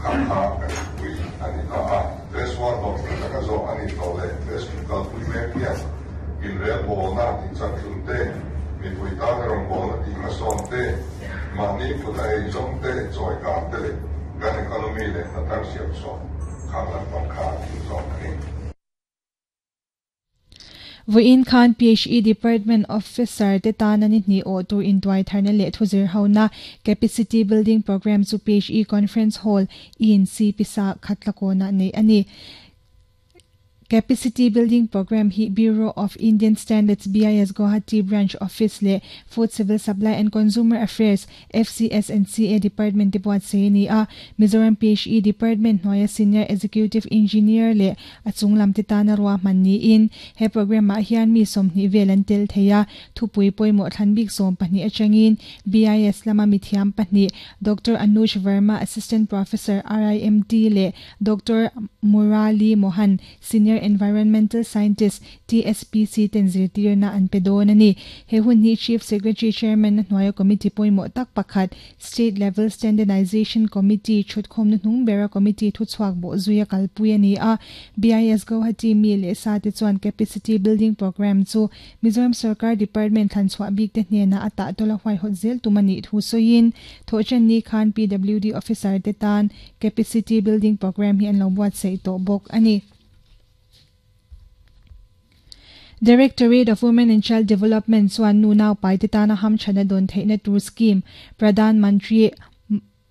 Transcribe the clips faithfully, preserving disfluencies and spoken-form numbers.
Kha kha kan pui a ni ta a. Phase one hlawhtling taka zawh a nih tawh leh phase two kalpui mek hian inrelbawlna tihchakhlum te, mipui tana rawngbawlna tihhmasawn te, mahni kut a eizawng te chawikan te leh kan economy leh hna thar siam chhuah khang lampang kha a thim zawk a ni. Vawiin khan P H E Department Officer te tana ni hnih awh tur intuai tharna leh thuzir hona Capacity Building Programme chu P H E Conference Hall E N C pisa Khatlakawnah neih a ni. Capacity Building Programme hi Bureau of Indian Standards, B I S, Guwahati Branch Office leh Food Civil Supply and Consumer Affairs, F C S and C A Department te buatsaih a ni a. Mizoram P H E Department hnuaia Senior Executive Engineer leh a chunglam te tana ruahman niin he programme ah hian mi sawmhnih vel an tel thei a. Thupui pawimawh thlan bik sawm pahnih atangin B I S lama mithiam pahnih, Doctor Anuj Verma, Assistant Professor, R I M T leh Doctor Murali Mohan, Senior Environmental Scientist, T S P C ten zirtirna an pe dawn a ni. He hun hi Chief Secretary Chairman na hnuaia committee pawimawh tak pakhat, State Level Standardization Committee thutkhawmna hnung bera committee thuchhuak bawh zuia kalpui a ni a. B I S Guwahati mi leh sa te chuan Capacity Building Programme chu Mizoram Sarkar Department thlanchhuah bik te hnena a tahtawla huaihawt zel tum a nih thu sawiin thawhṭan ni khan P W D Officer te tan Capacity Building Programme hi an lo buatsaih tawh bawk a ni. Directorate of Women and Child Development chuan nu naupai te tana hamṭhana dawn theihna tur scheme Pradhan Mantri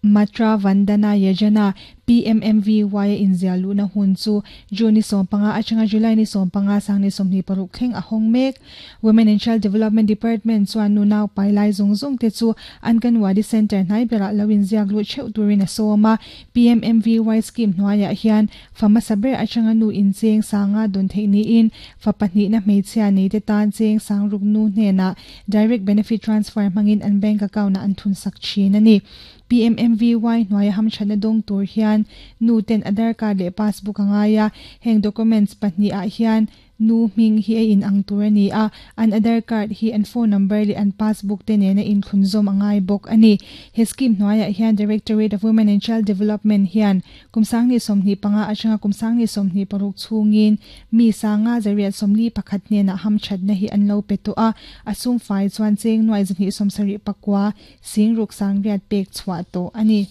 Matra Vandana Yojana, P M M V Y a inziah luhna hun chu June ni sawm panga atanga July ni sawm panga sang ni sawmhnih paruk thleng a hawng mek. Women and Child Development Department chuan nu naupai lai zawng zawng te chu Anganwadi Centre hnai berah lo inziak luh theuh turin a sawm a. P M M V Y scheme hnuaiah hian fa hmasa ber atanga nu in cheng sanga dawn theih niin fa pahnihna hmeichhia nei te tan cheng sang ruk nu hnenah direct benefit transfer hmangin an bank account ah an thun sak thin a ni. P M M V Y hnuaia hamṭhatna dawng tur hian nu ten Aadhaar card leh passbook a ngai a. Heng documents pahnih ah hian nu hming hi a in ang tur a ni a. An Aadhaar card hi an phone number leh an passbook te nena inthlunzawm a ngai bawk a ni. He scheme hnuaiah hian Directorate of Women and Child Development hian kum sanghnih sawmhnih panga atanga kum sanghnih sawmhnih paruk chhungin mi sanga zariat sawmli pakhat hnenah hamṭhatna hi an lo pe tawh a. A sum fai chuan cheng nuai zahnih sawmsarih pakua singruk sangriat pek chhuah tawh a ni.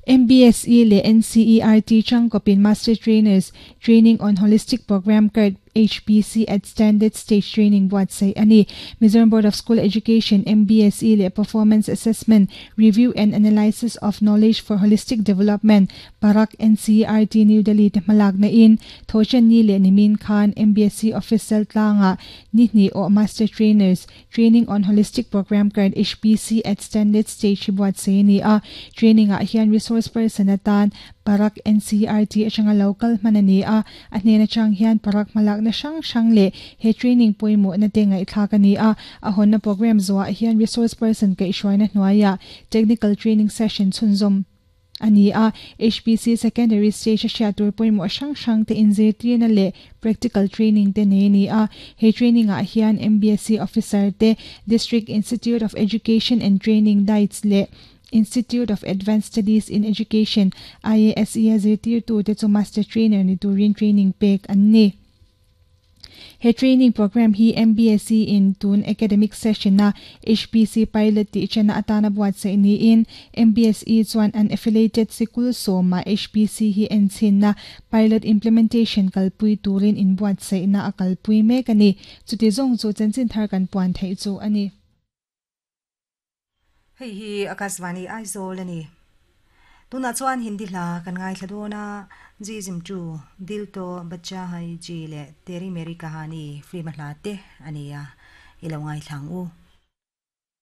M B S E leh N C E R T changkawpin Master Trainers Training on Holistic Programme Card, H P C at Standard Stage Training buatsaih a ni. Mizoram Board of School Education, M B S E leh Performance Assessment, Review and Analysis of Knowledge for Holistic Development, PARAKH, N C E R T New Delhi te hmalakna in Thawhṭanni leh nimin khan M B S E Office tlangah ni hnih awh Master Trainers Training on Holistic Programme Card, H P C at Standard Stage hi buatsaih a ni a. Training ah hian resource person atan PARAKH N C E R T atanga local hman a ni a. A hnen atang hian PARAKH hmalakna hrang hrang leh he training pawimawhna te ngaihthlak a ni a. A hawnna program zawhah hian resource person kaihhruaina hnuaiah technical training session chhunzawm a ni a. H P C secondary stage a hriat tur pawimawh hrang hrang te inzirtirna leh practical training te nei a ni a. He training ah hian M B S E officer te, District Institute of Education and Training, DIETs leh Institute of Advanced Studies in Education, I A S E a zirtirtu te chu master trainer ni turin training pek an ni. He training program hi M B S E in tun academic session a H P C pilot tih chana atana buatsaih niin M B S E chuan an affiliated sikul sawma H P C hi enchhinna pilot implementation kalpui turin in buatsaihna a kalpui mek a ni. Chuti zawng chu chanchin thar kan puan theih chu a ni. Hei hi Akashvani Aizawl a ni. Tunah chuan Hindi hla kan ngaithla dawn a, Jism Two, Dil To Bachcha Hai Ji leh Teri Meri Kahani film a hla te a ni a, i lo ngaithla ang u.